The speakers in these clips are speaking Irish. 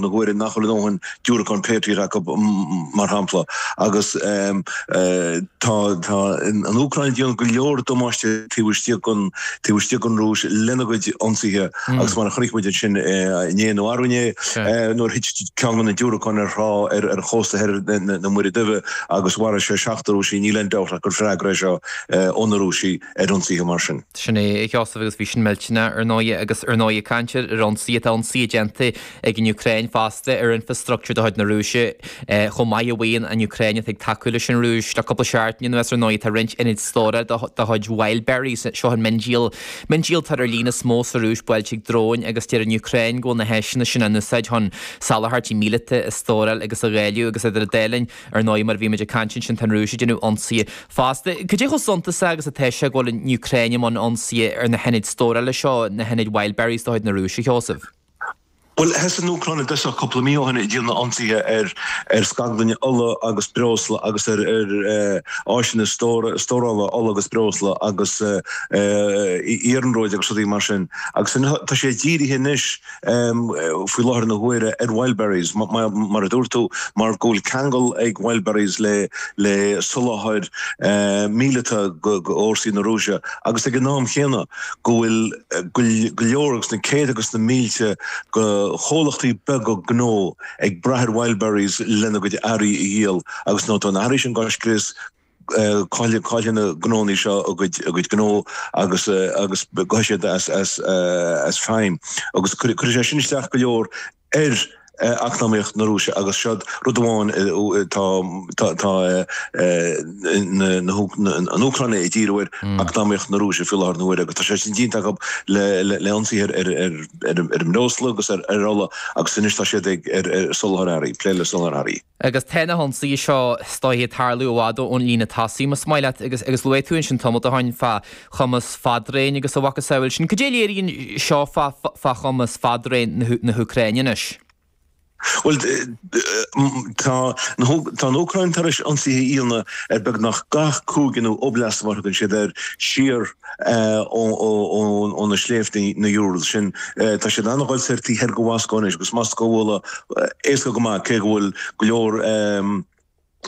na huaire nach bhfuil a ndóthain diúracán Patriot acu, mar shampla, agus tá an Úcráin ag déanamh go leor damáiste taobh istigh den taobh istigh den Rúis lena gcuid ionsaithe agus mar a chonaic muid ansin inné nó arú inné nuair a thit ceann de na diúracáin ar thrá ar chósta thoir na Muire Duibhe agus mharaigh sé seachtar Rúisigh, níl aon dabht ach gur freagra é seo ó na Rúisigh ar ionsaithe mar sin. Sin é, a Sheosaimh, agus bhí sin millteanach, ar ndóighe, agus ar ndóighe, caint ar ionsaithe, tá ionsaithe déanta ag an Úcráin fosta ar infreastruchtúr de chuid na Rúise chomh maith a mhaíonn an Úcráin atá ag tacú leis an Rúis. Le cúpla seachtain anuas, ar ndóighe, tá roinnt ionad stórála de chuid Wildberries, seo an miondíol, miondíoltóir ar líne is mó sa Rúis, buailte ag dróin agus deir an Úcráin go bhfuil na háiseanna sin á n-úsáid chun soláthairtí míleata a stóráil agus a dháileadh agus idir an dá linn, Ar ndóigh, mar a bhí muid ag caint ansin, tá an Rúis ag déanamh ionsaithe fosta. Cad é chomh suntasach agus atá sé go bhfuil an Úcráin i mbun ionsaithe ar na hionaid stórála seo, na hionaid Wildberries de chuid na Rúise, a Sheosaimh? Bhuel, thosaigh an Úcráin i dtosach cúpla mí ó shin ag déanamh ionsaithe ar ar scaglainne ola agus breosla agus ar ar áiseanna stórála ola agus breosla agus iarnróid agus rudaí mar sin. Agus tá sé dírithe anois faoi láthair na huaire ar Wildberries, mar a dúirt tú, mar go bhfuil ceangal ag Wildberries le le soláthar míleata go fhórsaí na Rúise agus ag an am chéanna go bhfuil go leor agus na céadta agus na mílte de chomhlachtaí beaga gnó ag brath ar Wildberries lena gcuid earraí a dhíol agus nuair atá na hearraí sin á scrios caillfidh na gnónnaí seo a gcuid gnó agus agus gabhfaidh siad as as as feidhm agus cuirfidh sé sin isteach go leor ar eacnamaíocht na Rúise agus seo rud amháin tá tá tá an Úcráin ag díriú ar eacnamaíocht na Rúise faoi láthair na huaire agus tá sé sin déanta acu le le ionsaithe ar ar ar ar an mbreosla agus ar ar ola agus anois tá siad ag ar ar soláthar earraí, plé le soláthar earraí. Agus tá na hionsaithe seo is dóiche ag tarlú i bhfad ón líne tosaigh, más maith leat, agus agus luaigh tú ansin tamall ó shin fá chumas fadraoin agus a mhacasamhail sin. Cad é a léiríonn seo fá fá chumas fadraoin na na hÚcráine anois? Bhuel, tá tá an Úcráin tar éis ionsaithe a dhéanamh ar beagnach gach cúige nó oblast mar a thugann siad air siar ó na sléibhte na Urals sin. Tá siad an-dhul soir taobh thoir de Mhoscó anois agus Moscó a bhualadh éasca go maith cé go bhfuil go leor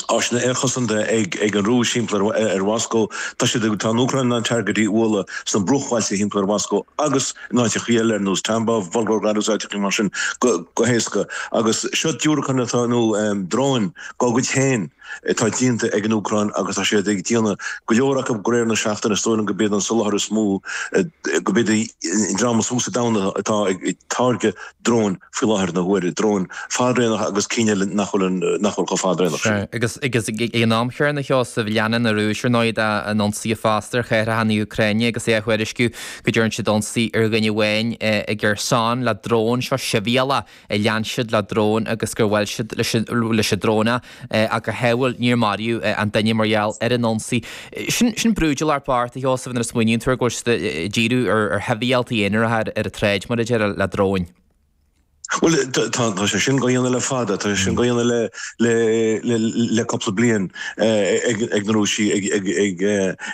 áiseanna aerchosanta ag an Rúis thimpeall ar Mhoscó. Tá siad ag, tá an Úcráin in ann targaidí a bhualadh sna bruachbhailte thimpeall ar Mhoscó agus in áiteachaí eile ar nós Tambov, Volgograd agus áiteachaí mar sin go héasca. Agus seo diúracáin atá, nó dróin dá gcuid féin atá déanta ag an Úcráin agus tá siad ag déanamh go leor acu de réir na seachtaine. Is dóigh liom gurb iad an soláthar is mó, gurb iad an dream is mó sa domhan atá ag táirgeadh dróin faoi láthair na huaire, dróin fadraonacha agus cinn eile nach bhfuil nach bhfuil chomh fadraonach sin. Sea, agus agus ag an am chéanna, a Sheosaimh, leanann an Rúis ar ndóigh dá n-ionsaithe fosta ar chathracha na hÚcráine agus é á thuairisciú go dtearn siad ionsaí ar dhuine amháin i gKherson le drón, seo sibhialtach a lean siad le drón agus gur bhuail siad leis an drón é. Ach go hádhúil níor maraíodh an duine mar gheall ar an ionsaí. Sin sin brúidiúlacht bocht, a Sheosaimh, nuair a smaoiníonn tú air go bhfuil siad ag díriú ar shibhialtaigh aonaracha ar an tsráid, mar a déarfá, le dróin. Bhuel, tá tá sé sin á dhéanamh le fada, tá sé sin á dhéanamh le le le le cúpla bliain ag ag na Rúisigh ag ag ag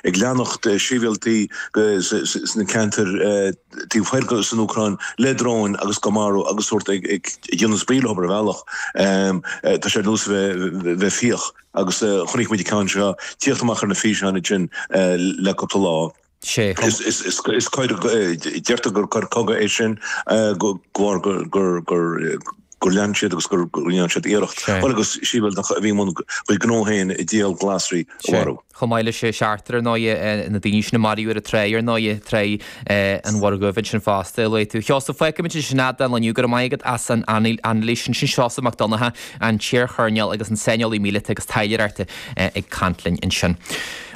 ag leanacht sibhialtaigh sna ceantair taobh thoir san Úcráin le dróin agus á marú agus sórt ag déanamh spraoi leo ar bhealach. Tá sé ar nós a bheith fiach agus chonaic muid an ceann seo tíocht amach ar na físeáin ansin le cúpla lá. Is coir, deirtear gur coir cogaidh é sin de bharr gur gur lean siad agus gur dhein siad iarracht. Bhuel agus sibhialtach a bhí i mbun a chuid gnó féin ag díol glasraí a mharú. Chomh maith leis an seachtar ar ndóighe, na daoine sin a maraíodh ar an tráigh ar ndóighe, tráigh an Mhuir Dhuibh ansin fosta, a luaigh tú. Sheosamh, fágfaimid ansin é don lá inniu, go raibh maith agat as an anailís sin. Sin Seosamh Mac Donncha, an t-iar-choirnéal agus an saineolaí míleata agus taidhleoireachta ag caint linn ansin.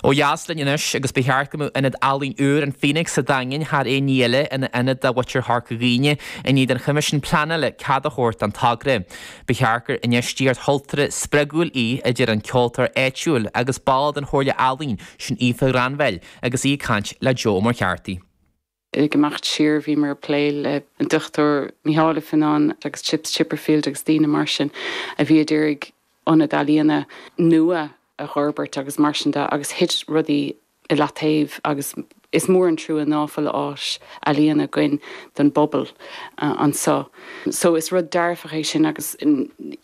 Ó dheas linn anois, agus ba cheart go mbeadh ionad ealaíon úr an Phoenix sa Daingean thar aon ní eile ina ionad do mhuintir Chorca Dhuibhne i ndiaidh don Choimisiún Pleanála cead a thabhairt don togra. Ba cheart gur infheistíocht chultúrtha spreagúil í, a deir an ceoltóir áitiúil agus ball den Chomhairle Ealaíon, sin Aoife Ghranville, agus í ag caint le Joe Ó Muircheartaigh. Ag imeacht siar bhíomar ag plé le an Dr Mícheál Ó Fionnáin agus Chips Chipperfield agus daoine mar sin a bhí ag iarraidh ionad ealaíona nua a fhorbairt agus mar sin de agus thit rudaí i leataobh agus. Is mór an trua ná fuil áis ealaíona againn don bpobal anso. So is rud dearfach é sin agus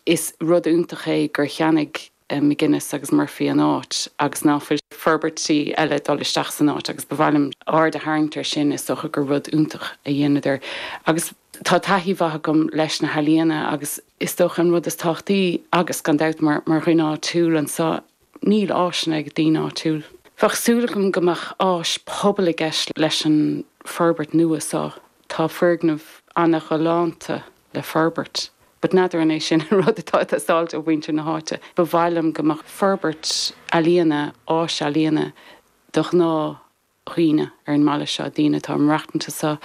is rud iontach é gur cheannaigh McGuinness agus Murphy an áit agus ná fuil forbairtí eile ag dul isteach san áit agus ba mhaith liom aird a tharraingt air sin, is dócha gur rud iontach a dheineadar. Agus tá taithí mhaith agam leis na healaíona agus is dócha an rud is tábhachtaí agus gan dabht mar dhuine áitiúil anso, Níl áiseanna ag daoine áitiúil. Bheadh súil agam go mbeadh áis pobail i gceist leis an forbairt nua seo. Tá foirgneamh ana-ghalánta le forbairt but n'fheadar an é sin an rud atá ag teastáilt ó mhuintir na háite. Ba mhaith liom go mbeadh forbairt ealaíona, áis ealaíona do ghnáth dhaoine ar an mbaile seo, daoine atá ag maireachtaint anso,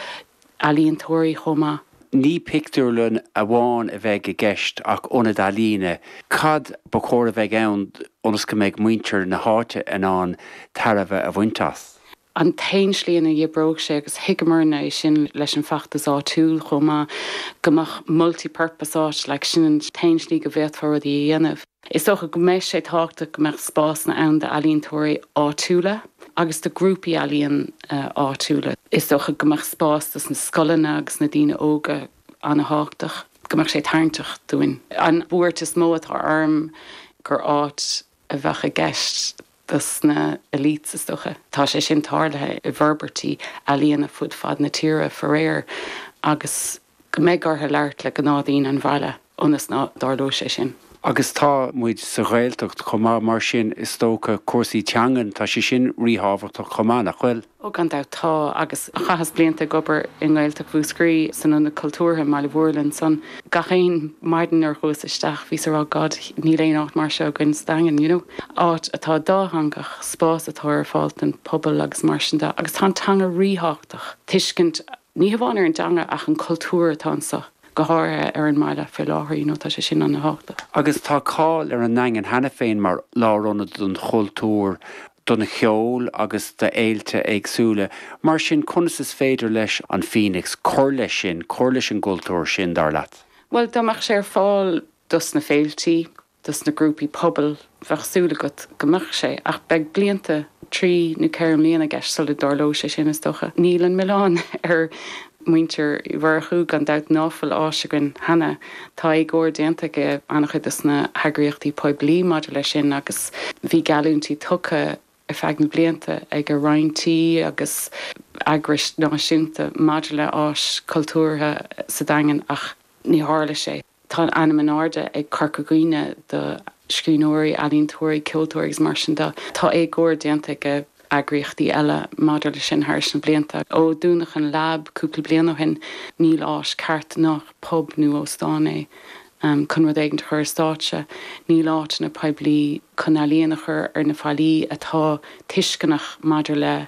ealaíontóirí chomh maith. Ní pictiúrlann amháin a bheidh i gceist ach ionad ealaíne. Cad ba chóir a bheidh ann ionas go mbeidh muintir na háite in ann tairbhe a bhaint as? An t-aon slí ina n-oibreodh sé, agus thuigeamarna é sin leis an bhfeachtas áitiúil chomh maith, go mbeadh multi-purpose áit, like, sin an t-aon slí go bhféadfá rudaí a dhéanamh. Is dócha go mbeidh sé tábhachtach go mbeadh spásanna ann d'ealaíontóirí áitiúla agus do grúpaí ealaíon áitiúla. Is dócha go mbeadh spás dos na scoileanna agus na daoine óga ana-thábhachtach, go mbeadh sé tarraingteach dúinn. An bhuairt is mó atá orm gur áit a bheadh i gceist dos na elites, is dócha. Tá sé sin tarlaithe i bhforbairtí ealaíona fud fad na tíre, faraor, agus go mbeidh orthu labhairt le gnáthdhaoine an bhaile ionas ná dtarlóidh sé sin. Agus tá muid sa Ghaeltacht chomh maith, mar sin is dócha cúrsaí teangan, tá sé sin ríthábhachtach chomh maith, nach bhfuil? Ó gan dabht tá, agus chaitheas blianta ag obair i nGaeltacht Mhúscraí san Ionad Cultúrtha i mBaile Mhúirne ansan. Gach aon maidin nuair a chuas isteach bhíos ag rá God níl aon áit mar seo againn sa Daingean, you know. Áit atá dátheangach, spás atá ar fáil don pobal agus mar sin de. Agus tá an teanga ríthábhachtach, tuiscint Ní hamháin ar an dteanga ach an cultúr atá anso, go háirithe ar an mbaile faoi láthair, you know, tá sé sin ana-thábhachtach. Agus tá cáil ar an nDaingean cheana féin mar lárionad don chultúr, don cheol agus d'fhéilte éagsúla. Mar sin, conas is féidir leis an Phoenix cur leis sin, cur leis an gcultúr sin, dar leat? Bhuel, dá mbeadh sé ar fáil dos na féiltí, dos na grúpaí pobail, bheadh súil agat go mbeadh sé, ach beidh blianta, trí nó 4 mbliana i gceist sula dtarlóidh sé sin, is dócha. Níl an milleán ar mhuintir Uí Mhurchú, gan dabht, ná fuil áis againn cheana. Tá éagóir déanta ag an-chuid dos na heagraíochtaí poiblí maidir leis sin agus bhí geallúintí tugtha ar feadh na blianta ag roinnt agus eagrais náisiúnta maidir le áis cultúrtha sa Daingean ach ní tharla sé. Tá an ainm in airde ag Corca Dhuibhne do scríbhneoirí, ealaíontóirí, ceoltóirí agus mar sin de. Tá éagóir déanta ag eagraíochtaí eile maidir leis sin thairis na blianta. Ó dúnadh an Lab cúpla bliain ó shin, níl áis ceart nach pub nó óstán é chun rud éigin a chur ar stáitse. Níl áiteanna poiblí chun ealaíon a chur ar na fallaí atá tuisceanach maidir le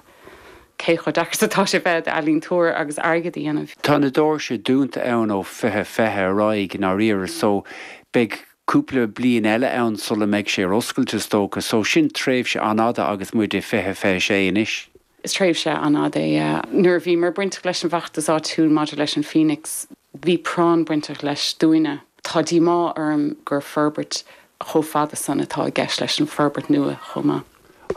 cé chomh deacair is atá sé bheith i d'ealaíontóir agus airgead a dhéanamh. Tá na doirse dúnta ann ó 2020 ar aghaidh i ndáiríre so beidh cúpla bliain eile ann sula mbeidh sé ar oscailt is dócha so sin tréimhse an-fhada agus muid i 2026 anois. Is tréimhse an-fhada é, yeah. Nuair a bhíomar bainteach leis an bhfeachtas áitiúil maidir leis an Phoenix, bhí práinn bainteach leis dúinne. Tá díomá orm gur forbairt chomh fada san atá i gceist leis an bhforbairt nua chomh maith.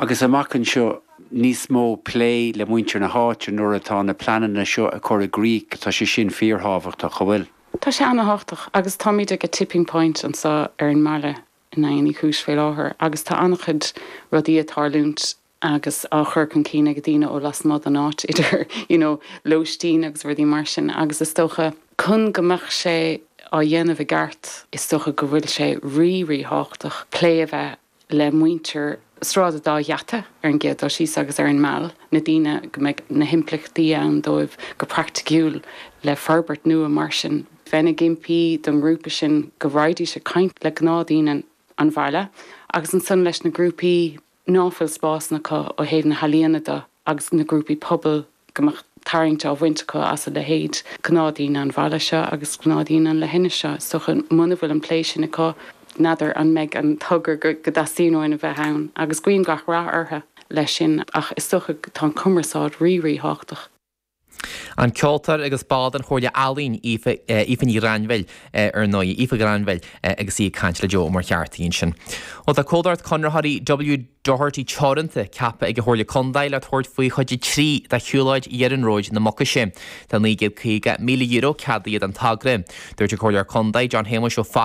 Agus amach anseo, níos mó plé le muintir na háite nuair atá na pleananna seo á gcur i gcrích, tá sé sin fíorthábhachtach, an bhfuil? Tá sé ana-thábhachtach agus táimid ag a tipping point anseo ar an mbaile i nDaingean Uí Chúis faoi láthair agus tá an-chuid rudaí ag tarlúint agus á chur chun cinn ag daoine ó lasmuigh den áit idir you know lóistín agus rudaí mar sin agus is dócha chun go mbeadh sé á dhéanamh i gceart is dócha go bhfuil sé rí-ríthábhachtach plé a bheith le muintir Sráid an Dá Gheata ar an gcéad dul síos agus ar an Meal, na daoine go mbeidh na himpleachtaí ann dóibh go praiticiúil le forbairt nua mar sin. Bheinn ag impí don ngrúpa sin go raghaidís ag caint le gnáthdhaoine an bhaile agus ansan leis na grúpaí ná fuil spásanna acu ó thaobh na healaíona de agus na grúpaí pobail go mbeadh tarraingt á bhaint acu as a leithéid, gnáthdhaoine an bhaile seo agus gnáthdhaoine an leithinis seo. Is dócha muna bhfuil an plé sin acu, n'fheadar an mbeidh an togra go dteastaíonn uainn a bheith ann agus guím gach rath orthu leis sin ach is dócha tá an cumarsáid rí-ríthábhachtach. An ceoltóir agus ball den Chomhairle Ealaíon, Aoife, Aoife Ní Ghrainbhil, ar ndóigh, Aoife Granville, agus í ag caint le Joe Ó Muircheartaigh ansin. Bhuel, tá comhlacht conraitheoirí W Doherty Teoranta ceaptha ag an Chomhairle Contae le tabhairt faoi chuid 3 de shiúlóid iarnróid na Mucaise. Tá €950,000 ceadaithe don togra. Dúirt an Comhairleoir Contae, John Shéamuis Ó.